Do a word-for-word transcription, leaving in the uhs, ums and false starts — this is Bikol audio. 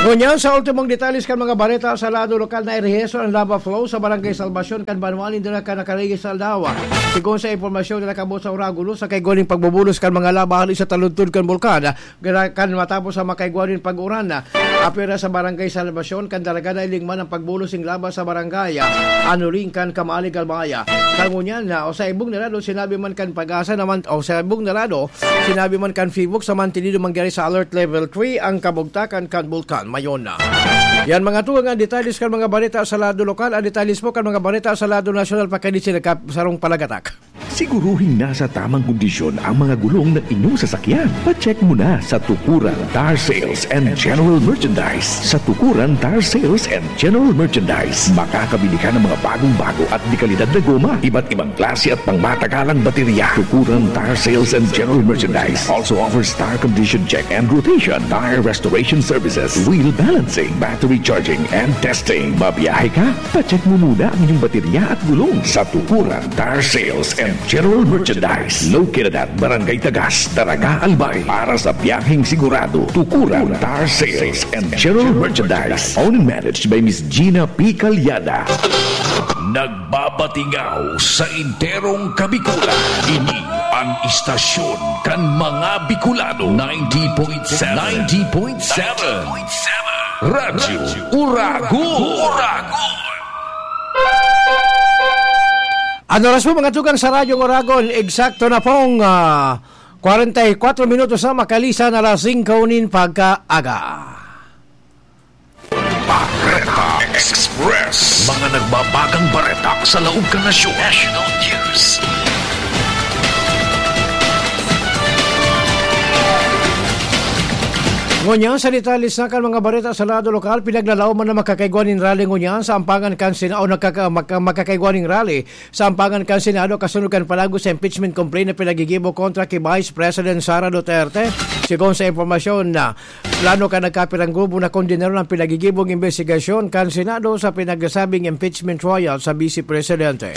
Ngunyan, sa ultimong detalles kan mga bareta sa lado lokal, nairehistro an lava flow sa Barangay Salvacion kan banwaan nin Dinacan na Carillas, Aldao. Sigon sa impormasyon na nakabot sa Oragon News, sa kaigwa nin pagbubulos kan mga laba hali sa taludtod kan bulkan, gana kan matapos ang makaigwa nin pag-uran. Apwera sa Barangay Salvacion kan Dalaga, nailing man ang pagbulos nin laba sa barangay Anuling kan Kamalig, Albay. Sa ngunyan na, o sa ibong narado, sinabi man kan Pag-asa naman, o sa ibong narado, sinabi man kan PHIVOLCS na mantenido mangyari sa Alert Level three ang kabugtakan kan Bulkan Mayon. Yan, mga tugang, ang detalles kan mga bareta sa lado lokal. Ang detalles po kan mga bareta sa lado nasyonal, pakadi sila kap-, sarong palagatak. Siguruhing nasa tamang kondisyon ang mga gulong ng inyong sasakyan. Pa-check muna sa Tukuran Tire Sales and General Merchandise. Sa Tukuran Tire Sales and General Merchandise, makakabili ka ng mga bagong-bago at dekalidad na goma, iba't ibang klase at pangmatagalang baterya. Tukuran Tire Sales and General Merchandise also offers tire condition check and rotation, tire restoration services, wheel balancing, battery charging, and testing. Babiyahe ka? Pa-check mo muna ang inyong baterya at gulong sa Tukuran Tire Sales and General Merchandise. Located at Barangay Tagas, Daraga, Albay. Para sa biyaheng sigurado, Tukuran Tire Sales and General Merchandise. Owned and managed by Miss Gina P. Calyada. Nagbabatingaw sa enterong Kabikulan. Ini ang istasyon kan mga Bicolano. Ninety point seven. Ninety point seven. Radyo Uragon. An oras po, mga tugang, sa Radyo Uragon, eksakto na pong, ah, kwarenta y kwatro minutos na makalisan alas singko nin pagkaaga. Bareta Express. Mga nagbabagang bareta sa laog kan nasyon. National News. Ngunyan, sa detalye sa kan mga bareta sa lado lokal, pinaglalaom man na makakaigwa nin rally ngunyan sa ampangan kan Sena-, o nagkaka-, magka-, makakaigwa nin rally sa ampangan kan Senado kasunod kan palago sa impeachment complaint na pinaggigibo kontra ki Vice President Sara Duterte. Sigon sa impormasyon na plano kan nagkapirang grupo na kondenaron ang pinagigibong imbestigasyon kan Senado sa pinagsasabing impeachment trial sa Vice Presidente.